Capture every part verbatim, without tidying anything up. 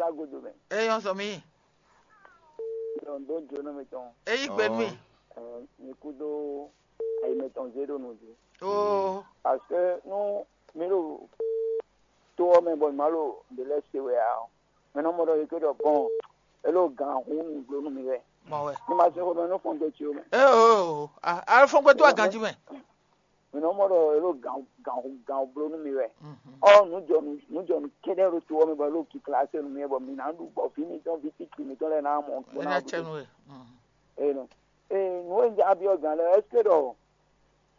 Agodo mɛ. Eyɔn sɔ mi. Lɔn dó jónú mitɔn. Eyi gbe mi. Ɔ, mi kúdó ayi mɛtɔn zé ɖo nǔ jí. Oo. Parce que nú mi ɖo tó ɔ́ mɛ bɔ mi ma ɖo ɖě lɛ́ɛ se wɛ ǎ ɔ́, mi nɔ mɔ ɖɔ yě ké ɖɔ bɔn é ɖo gǎn hun nǔgbó nú mi wɛ. Mɔ wɛ. Mi ma se xomɛ nú fɔngbé ce ó mɛ. Ee oo, a fɔngbé tó aganjí mɛ. Mi nɔ mɔ ɖɔ é ɖo gǎn hun gǎn hun gǎn hun bló nú mi wɛ. Ɔ nǔjɔnú nǔjɔnú kɛ́ɖɛ́ ɖo to ɔ́ mɛ bɔ é ɖo kikla se nú mi wɛ bɔ mi ná ɖu bɔ vǐ mitɔn vǐ titi mitɔn lɛ́ɛ ná mɔ. Ena cɛnu we. Ee nɔ ee nǔ e un ja byɔ́ gǎn lɛ́ɛ ɛsike ɖɔ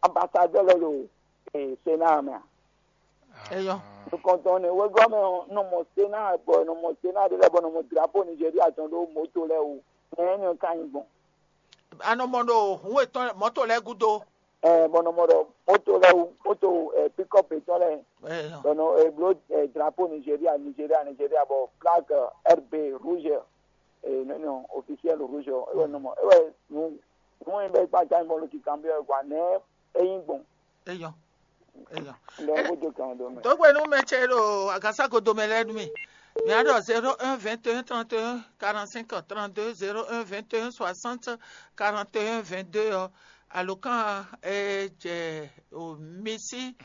ambasadɛ́ lɛ́ɛ ɖo ee sena mɛ a? Eyɔ. Nukɔntɔn ne wegɔ́ mɛ ɔ́ nɔ mɔ sena bɔ nɔ mɔ sena ɖe lɛ́ɛ bɔ nɔ mɔ drapo Nigeria tɔn ɖó moto lɛ́ɛ wú. Nɛ ɛnɛ ka nyi gbɔn. A nɔ mɔ ɖo hun etɔn mɔto lɛ́ɛ gúdo. Ɛ bɔ nɔ mɔ ɖɔ moto lɛ́ɛ wú moto ɛ pikɔpu etɔn lɛ́ɛ. Eyɔ. Bɔ nɔ e bló ɛ drapo Nigeria Nigeria Nigeria bɔ flag ɛ, R B rouge ɛ nɔ nɔ officiel rouge ɔ ewɛ nɔ mɔ ewɛ nu nu e bɛ kpa ta bɔ lo kikan bi ɛ gwa nɛ e nyi gbɔn. Eyɔ. Eyɔ. Ndɔ ko do kan do mɛ. Dogbe nu mɛ cɛ ɖo agasa godo mɛ lɛ nu mi. Mi a ɖɔ zéro un vingt et un trente et un quarante-cinq trente-deux, zéro un vingt et un soixante quarante et un vingt-deux ɔ alokan e jɛ o misi.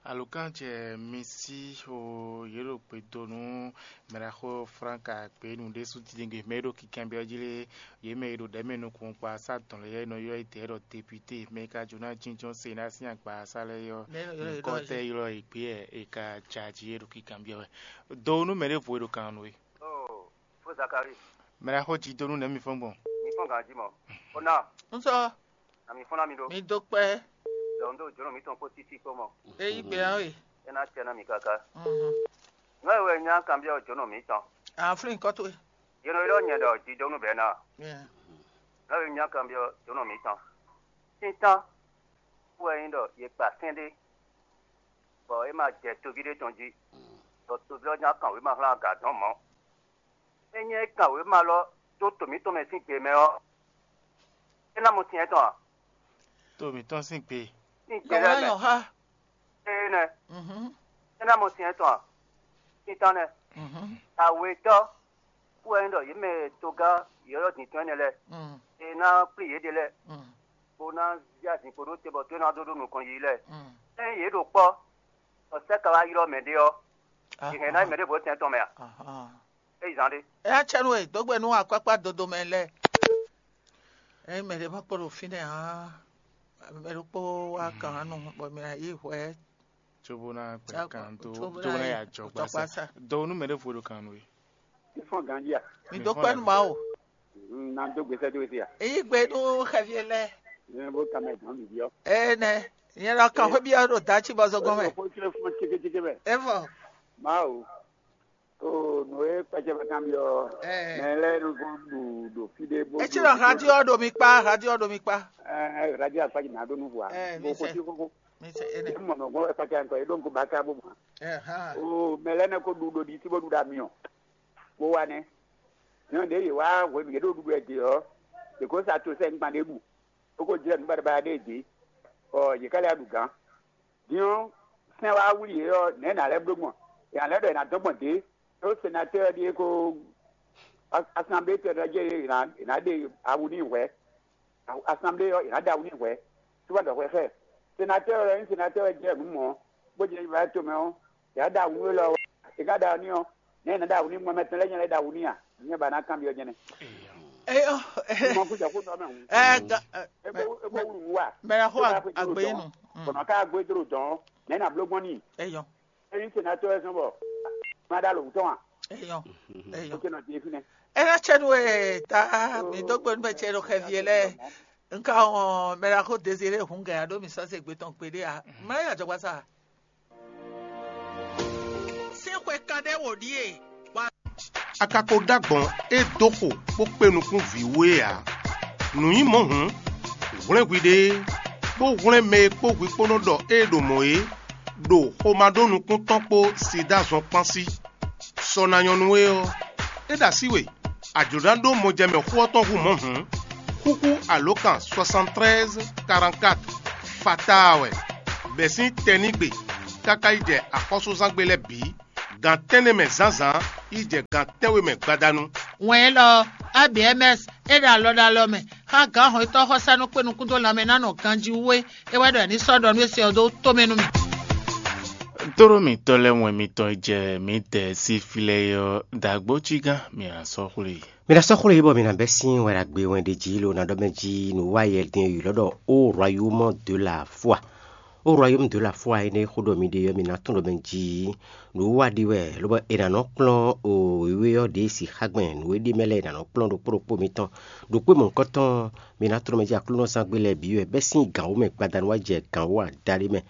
Alukán jɛ mi sí xo yě ɖo gbe dó nú mɛɖaxó Franka gběnu ɖésú titewungbe mɛ e ɖo kinkanbyɔ́ jí lé, yě mɛ e ɖo ɖɛ̌ mɛ nukɔn kpa sá dɔn lɛ́ɛ nɔ ylɔ́ édɛɛ ɖɔ depite mɛ e ka jǒ ná jínjɔ́n se ná sín agba sá lɛ́ɛ ɔ́, nyǐkɔ tɛ́ ylɔ́ e gbé wɛ è ka jɛ aji é ɖo kinkanbyɔ́ wɛ. Do nú mɛ ɖěvo e ɖo kan nú we. Fó Zakari, Mɛɖaxó jí dó nú nɛ̌ mi fɔ́n gbɔn? Mi fɔ́n ganjí mɔ. Ó ná, Un sɔ na mi fɔ́n ná mi ɖó. Mi dó kpɛ́. Lɔ un ɖó jǒnɔ mǐtɔn kpó títí kpó mɔ. É yí gbe ɔ́ e. É ná tɛ ná mi káká. Mhm. Nǔ e wɛ nyá kanbyɔ́ jǒnɔ mǐtɔn. Aflín kɔ́ towe. Yě nɔ ylɔ́ nyɛ ɖɔ jidónú bɛ́ ná. Yeah. Nǔ e wɛ nyá kanbyɔ́ jǒnɔ mǐtɔn. Títán wɛ nyí ɖɔ yě kpa sɛ́n ɖé, bɔ é ma jɛ toví ɖé tɔn jí, bɔ toví ɔ́ ná kan wěma hlán aga dɔ̌n mɔ̌. É nyí é kan wěma lɔ dó to mǐtɔn mɛ sín gbe mɛ ɔ́, é ná mɔ sin ɛtɔn ǎ. To mǐtɔn sín gbe. Sín gbe lɛ́ɛ mɛ. Nyɔ̌ há. Éé nɛ́. Mhm. É ná mɔ sin ɛtɔn ǎ. Sín tán nɛ́. Mhm. Awetɔ́ kú wɛ nyí ɖɔ yě mɛ togán yɔ̌yɔ́ din tɔn énɛ́ lɛ́ɛ. Mm. É ná kplí yěɖée lɛ́ɛ, Mm. bó ná zí azǐn kpo ɖó te bɔ tó ná dó ɖó nukɔn yiyi lɛ́ɛ. Mm. Ényí yě ɖo kpɔ́, bɔ sɛ́ ka wá ylɔ́ mɛ ɖé ɔ́, yě hɛn ná yi mɛ ɖěvo tɛn tɔn mɛ a? Ahán. É yi zán ɖé. É ná cɛ nú we dó gbe nú akpákpá dodo mɛ lɛ́ɛ. Ényí mɛ ɖé ma kpo ɖo fínɛ́ ǎ, mɛ ɖokpó wá kan nú bɔ mɛ ná yí hwɛ. Cóbó ná gbɛ kan dó cóbó ná yà jɔ gbasa. Dó nú mɛ ɖěvo ɖo kan nú we. Fífɔ́n ganjí a? Mi dó kpɛ́ nú Mawu. Na dó gbèsè dó sí a? Èyí gbe nú xɛvi lɛ. Ní bó ka mɛ dán mi biɔ. Ene, nyɛ lɔ kan xwé biɔ ɖo dá ci bɔ zɔgɔn mɛ. Ó kó tlé fún tíkétíké mɛ. Evɔ. Mawu. O nǔ e kpɛcɛ bɛ kan biɔ. Ɛ. Mɛ lɛ nu ko ɖu ɖo fí ɖé bó. Etsi lɔ radio ɖo mi kpa, radio ɖo mi kpa. Ɛ radio akpa dzi na ɖo nu vɔ a. Ɛ, mi sɛ. Bó kó tí kókó. Mi sɛ ene. Mɔ mɔ gbɔ kpɛcɛ ŋkɔ e ɖo ŋkó ba ka bó ma. Ɛ hã. O mɛ lɛ ne ko ɖu ɖo ɖi tí bó ɖu ɖa mi ɔ. Bó wa nɛ. Nyɔnu ɖě yě wá hwenu yě ɖo ɖuɖu wɛ dě ɔ́, yě ko sa to sɛ́ ŋgban ɖěbǔ, bó ko jlɛ́ nǔ baɖabaɖa ɖé dě, bɔ yě ká lɛ́ ɖu gǎn. Din ɔ́, sɛ́n wá wlí yě ɔ́, nɛ̌ nǎ lɛ́ bló gbɔn? È nǎ lɛ́ ɖɔ è nǎ dɔn gbɔn dě, ɖó senatɛ́ɛ ɔ́ ɖíe ko asanblée tɛn ɔ́ jɛ yě ná ɖe awu n'i hwɛ̌. Asanblée ɔ́, è nǎ ɖe awu n'i hwɛ̌. Cóbɔ ɖɔ hwɛ xá ɛ. Senatɛ́ɛ ɔ́ nyí senatɛ́ɛ jɛ nǔ mɔ̌, bó jɛ yi wá tomɛ ɔ́, è nǎ ɖe awu nú élɔ́ ɔ́. È ka ɖe awu n'i ɔ́, nɛ̌ è nǎ ɖe awu n'i? Mɔ mɛ tɔn lɛ́ɛ nyɛ lɛ́ ɖe awu n'i a? Nyɛ ba ná kanbyɔ́ nyɛ nɛ́. Eyɔ. Mɔ kú jɛ kó nɔ mɛ hǔn. Ɛ ga ɛ Ebo ebo wulu wú wa. Mɛ na xɔ agbe nu. Bɔnɔ ká gbé dó dɔn, nɛ̌ nǎ bló gbɔn n'i? Eyɔ. Ényí senatɔ́ wɛ zɔn bɔ má ɖo alǒ tɔn a? Eyɔ. Eyɔ. Ó ké nɔ di fínɛ́. Ena cɛ nu e ta mi dó gbe nu bɛ cɛ ɖo xɛvi lɛ. Nka ɔn mɛ na xɔ Désiré hun gɛ aɖo mi sɔse gbe tɔn gbeɖe a? Mɛ ya jɔgba sa. Sín xwe kanɖé wò ɖíe. A ka ko ɖó agbɔ̌n e dó xo bó kpé nukún vǐ wú é ǎ. Nǔ nyí mɔ̌ hǔn, hwlɛ́n hwiɖée, bó hwlɛ́n mɛ e kpó hwi kpó nɔ ɖɔ ée ɖo mɔ̌ é, ɖo xomá ɖó nukún tɔn kpó Sida zɔn kpán sí. Sɔ ná nyɔ́ nú we ɔ́, é ɖo así we, a jlǒ ná ɖó mɔjɛmɛ xó ɔ́ tɔn hú mɔ̌ hǔn, xúxú alǒkan soixante-treize quarante-quatre fataa wɛ, bɛ̌ sín tɛnígbe káká yi jɛ axɔ́súzángbe lɛ́ɛ bǐ, gan tɛ́nnɛ mɛ zǎnzǎn Yi jɛ gan tɛ́nwe mɛ gbadanu. Wɛn élɔ́ ɔ́, A B M S é ɖo alɔ ɖo alɔ mɛ xá gǎn hɔnnyitɔ́ xɔsánú kpé nukún dó lanmɛ ná nɔ ganjí wú é. É wɛ ɖɔ è ní sɔ́ ɖɔ nú é se ɔ́ dó tó mɛ nú mì. Tlóló mǐtɔn lɛ́ɛ wɛn mitɔn e jɛ mǐdɛɛ sín fí lɛ́ɛ é ɔ́, dǎgbó cí gán mǐ ná sɔ́ xwlé. Mi ná sɔ́ xwlé bɔ mi ná bɛ́ sín wɛn ɖagbe wɛn ɖé jí lo ná ɖɔ mɛ jí nǔ wa yɛ din e ylɔ́ ɖɔ ó royaume de la foi. Ó royaume de la foi énɛ́ xó ɖɔ mi ɖe ɔ́, mi ná tunwun ɖɔ mɛ jí nǔ wa ɖi wɛ, lobɔ è nǎ nɔ kplɔ́n o wěwé ɔ́ ɖě si xá gbɛn nǔ e ɖ'é mɛ lɛ́ɛ è nǎ nɔ kplɔ́n ɖokpó ɖokpó mitɔn. Ɖokpó mɔ̌hunkɔtɔn mi ná tlɔ́n mɛ jí Aklúnɔzán gbe lɛ́ɛ bǐ wɛ bɛ́ sín gǎn wú mɛ gbadanu wá jɛ gǎn wú adaɖé mɛ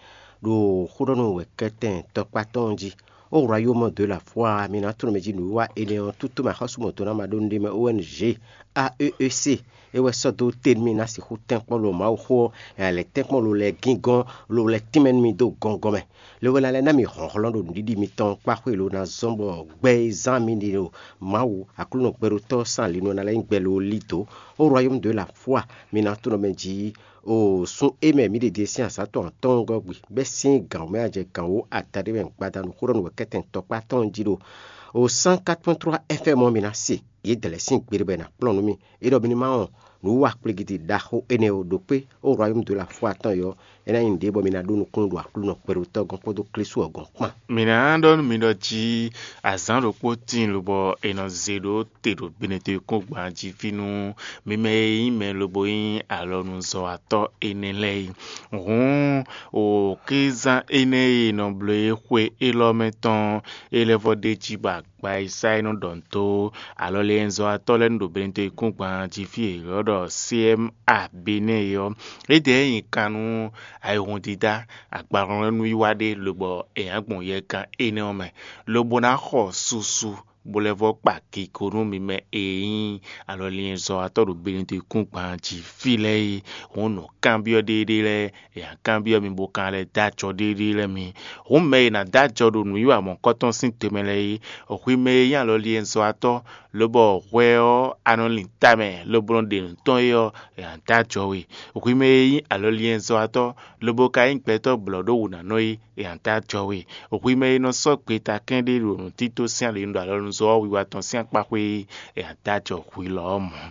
ɖo xó ɖɔ nú wɛ̌kɛ́tɛn tɔkpá tɔn jí. Ó royaume de la foi mi ná tlɔ́n mɛ jí nǔwiwa énɛ́ ɔ́, tútú mɛ axɔ́súmɔtɔn ná ma ɖó nǔɖé mɛ O N G A E E C é wɛ sɔ́ dó te nú mì ná sixú tɛ́nkpɔ́n lo Mawuxó ɔ́, è nǎ lɛ́ tɛ́nkpɔ́n lo lɛ́ɛ gíngɔ́n lo lɛ́ tínmɛ nú mì dó gɔngɔn mɛ. Lobo ná lɛ́ ná mì hlɔ̌nhlɔ́n ɖo nǔɖiɖi mitɔn kpáxwé lo ná zɔ́n bɔ gbɛ e zán mi ɖe ɖo Mawu Aklúnɔ gbɛɖótɔ́ sín ali nu ɔ́ ná lɛ́ nyí gbɛ lo lí dǒ. Ó royaume de la foi mi ná tlɔ́n mɛ jí o sun é mɛ mǐ ɖe din sín azǎn tɔn atɔ́ɔ́ngɔ́ gbe bɛ́ sín gǎn wú mɛ ajɛ gǎn wú adaɖé mɛ gbadanu xó ɖɔ nǔ wɛ kɛ́tɛn tɔkpá tɔn jí ɖo o cent quatre point trois F M ɔ́ mi ná se. Yě dɛ̌ lɛ́ɛ sín gbe ɖé bɔ è nǎ kplɔ́n nú mì. É ɖɔ mi ní ma wɔn nǔ wa kplégídí ɖaxó énɛ́ ɔ́ ɖokpé ó royaume de la foi tɔn ɔ́, é ná nyí nǔɖé bɔ mi ná ɖó nukúnnú ɖo Aklúnɔ kpɛɖotɔ́ gɔ́n kpódó Klísu ɔ́ gɔ́n kpán. Mǐ ná ɖɔ nú mi ɖɔ jí azǎn ɖokpó tíin lobɔ è nɔ zé ɖó te ɖo Benetɔ́-yíkúngban jí fí nú mi mɛ e nyí mɛ lobo nyí alɔnuzɔ́watɔ́ énɛ́ lɛ́ɛ é. Hǔn, o xízán énɛ́ e è nɔ bló é xwe élɔ́ mɛ tɔn é lɛ́ vɔ́ ɖ'é jí bɔ agba e sá é nɔ ɖɔ nǔ dó alɔliɛnzɔ́watɔ́ lɛ́ɛ nu ɖo Benetɔ́-yíkúngban jí fí e è ylɔ́ ɖɔ C M A Benɛ́ é ɔ́, é ɖe é nyi kan nú ayihúndídá agbahlɔ́nlɛ́núwiwa ɖé lobɔ è nǎ gbɔn yɛkan énɛ́ ɔ́ mɛ, lobo ná xɔ susu bó lɛ́ vɔ́ kpa kigo nú mi mɛ e nyí alɔliɛnzɔ́watɔ́ ɖo Benetɔ́-yíkúngban jí fí lɛ́ɛ é. Hǔn nǔkanbyɔ́ ɖéeɖée lɛ́ɛ è nǎ kanbyɔ́ mi bó ka lɛ́ dó acɔ ɖéeɖée lɛ́ɛ mi. Hǔn mɛ e ná dó acɔ ɖo nǔwiwa mɔ̌kɔtɔn sín te mɛ lɛ́ɛ é, hwi mɛ e nyí alɔliɛnzɔ́watɔ́, lobɔ hwɛ ɔ́ a nɔ lin tamɛ lobo nɔ ɖe nǔ tɔn é ɔ́, è nǎ dó acɔ we. Hwi mɛ e nyí alɔliɛnzɔ́watɔ́, lobo ka nyí gbɛtɔ́ blɔ̌ɖówǔnánɔ é, è nǎ dó acɔ we. Hwi mɛ e nɔ sɔ́ gbeta kɛ́ɖé ɖo nǔtító sín ali nu ɖo alɔnuzɔ́ wiwa tɔn sín akpáxwé é, è nǎ dó acɔ hwi lɔ ɔ́ mɔ̌.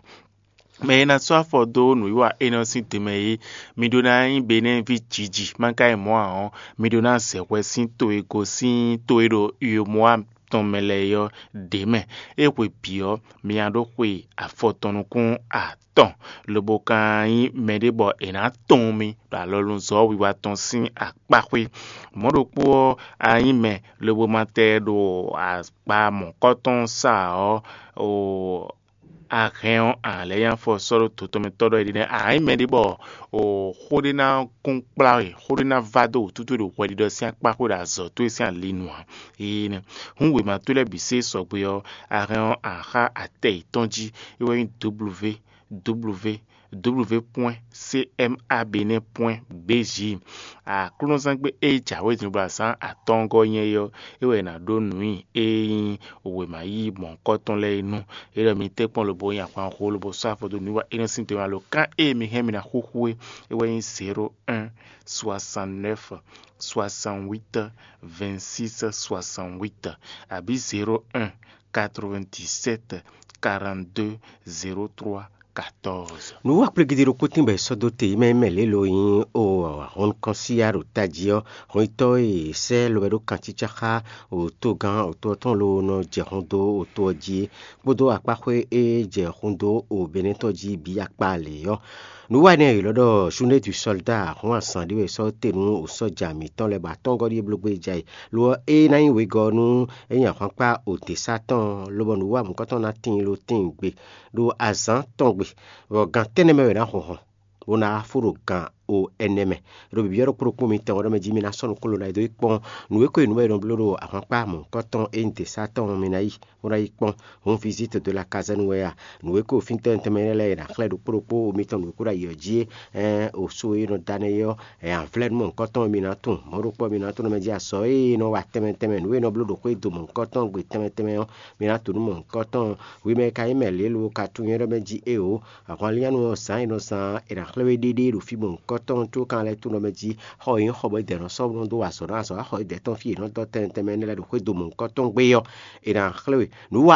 Mɛ e ná sɔ́ afɔ dó nǔwiwa énɛ́ ɔ́ sín tɛnmɛ é, mi ɖó ná nyí Benɛ́ɛví jǐji, má ka nyí mɔ̌ ǎ ɔ́, mi ɖó ná zɛ hwɛ sín to e gosín to e ɖo Yomɔa tɔn mɛ lɛ́ɛ é ɔ́ ɖě mɛ. É hwe bǐ ɔ́, mi ná ɖó xwe afɔ tɔn nukún atɔn, lobo ka nyí mɛɖé bɔ è nǎ tunwun mi ɖo alɔnuzɔ́ wiwa tɔn sín akpáxwé. Mɔ̌ ɖokpó ɔ́, a nyí mɛ lobo ma tɛ ɖo akpa mɔ̌kɔtɔn sa ɔ́, o a hɛn ɔ́, a lɛ́ nyi afɔ sɔ́ ɖó to tɔn mɛ tɔ́ ɖɔ é ɖi nɛ́. A nyí mɛɖé bɔ o xó ɖé ná kún kplá we, xó ɖé ná vá dó wǔtútú ɖo hwɛɖiɖɔ sín akpá xwé ɖo azɔ̌ towe sín ali nu ǎ. Énɛ́ hǔn wěma towe lɛ́ɛ bǐ sé sɔgbe ɔ́, a hɛn ɔ́, a xá atɛ yětɔn jí, é wɛ nyí W W W point C M A Benin point B J. Aklúnɔzán gbé e jǎwe zǐngbla zán atɔ́ɔ́ngɔ́ nyɛ é ɔ́, é wɛ è nǎ ɖó nǔ nyi e nyí wěma yíyí mɔ̌hunkɔtɔn lɛ́ɛ é nu. É ɖɔ mi tɛ́nkpɔ́n lobo nyi ahwanxó lobo sɔ́ afɔ dó nǔwiwa énɛ́ sín tɛnmɛ alo kan e mi hɛn mi ná xúxú é, é wɛ nyí zéro un soixante neuf soixante huit vingt six soixante huit abǐ zéro un quatre vingt dix sept quarante deux zéro trois quatorze. Nǔ wa kplé gidi ɖokpó tín bɔ è sɔ́ dó te yi mɛ mɛ lě lo nyí o hɔn nukɔn síya ɖo tají ɔ́, hɔnyitɔ́ e è sɛ́ lobɛ ɖó kancícá xá o togán o to ɔ́ tɔn lo nɔ jɛ hun dó o to ɔ́ jí é, kpódó akpáxwé e jɛ hun dó o Benɛ́tɔ́ jí bǐ akpá lě ɔ́. Nǔ wa énɛ́ e è ylɔ́ ɖɔ Journée du Soldat hɔn azǎn ɖé wɛ è sɔ́ te nú o sɔ́ja mǐtɔn lɛ́ɛ bɔ atɔ́ngɔ́ ɖíe bló gbé ja yi. Lo ɔ́, é ná nyí wegɔ́ nú é nyí ahwankpá o dě sá tɔn, lobɔ nǔ wa mǔkɔtɔn ná tíin lo tíin gbe ɖo azǎn tɔn gbe, bɔ gan tɛ́nnɛ mɛ wɛ è nǎ hun hɔn, bó ná wá fó ɖo gan o ɛnɛ mɛ. Ɖo bǐbí ɔ́ ɖokpó ɖokpó mitɔn ɔ́ ɖɔ mɛ jí mi ná sɔ́ nukúnlɔ́ ná yi dó yi kpɔ́n nǔ e ko e nǔ wɛ è nɔ bló ɖo ahwankpá mɔ̌hunkɔtɔn e nyí dě sá tɔn ɔ́ mi ná yi, bó ná yi kpɔ́n. Hǔn visite de la kazɛ́nu wɛ a? Nǔ e ko fín tɛnmɛ tɛnmɛ énɛ́ lɛ́ɛ è nǎ xlɛ́ ɖokpó ɖokpó mitɔn nǔ e ko ɖo ayǐ ɔ́ jí é, o so e nɔ da nɛ́ é ɔ́, ɛ, anvlɛ́nu mɔ̌hunkɔtɔn e mi ná tunwun, mɔ̌ ɖokpó ɔ́ mi ná tunwun nɔ mɛ jí azɔ̌ e nɔ wa tɛnmɛ tɛnmɛ nǔ e nɔ bló ɖo xwé do mɔ̌hunkɔtɔn gbe tɛnmɛ tɛnmɛ ɔ́, mi ná tunwun nú mɔ̌hunkɔtɔn. Hwi mɛ e ka nyí mɛ lě lo ka tunwun nyɛ ɖɔ mɛ jí éeǒ, ahwanlínyánú ɔ́ zǎn e nɔ zán ɔ́, è nǎ xlɛ́ we ɖéɖéé ɖo fí mɔ̌hunkɔtɔn. mɔ̌hunkɔtɔn tɔn có kan lɛ́ tunwun ɖɔ mɛ jí xɔ e nyí xɔ bɔ é dɛ nɔ sɔ́ nɔ dó wa azɔ̌ ná azɔ̌ wá xɔ é dɛ tɔn fí è nɔ dɔ́ tɛnmɛ tɛnmɛ énɛ́ lɛ́ɛ ɖo xwé do mɔ̌hunkɔtɔn gbé ɔ́, è nǎ xlɛ́ we. Nǔwiwa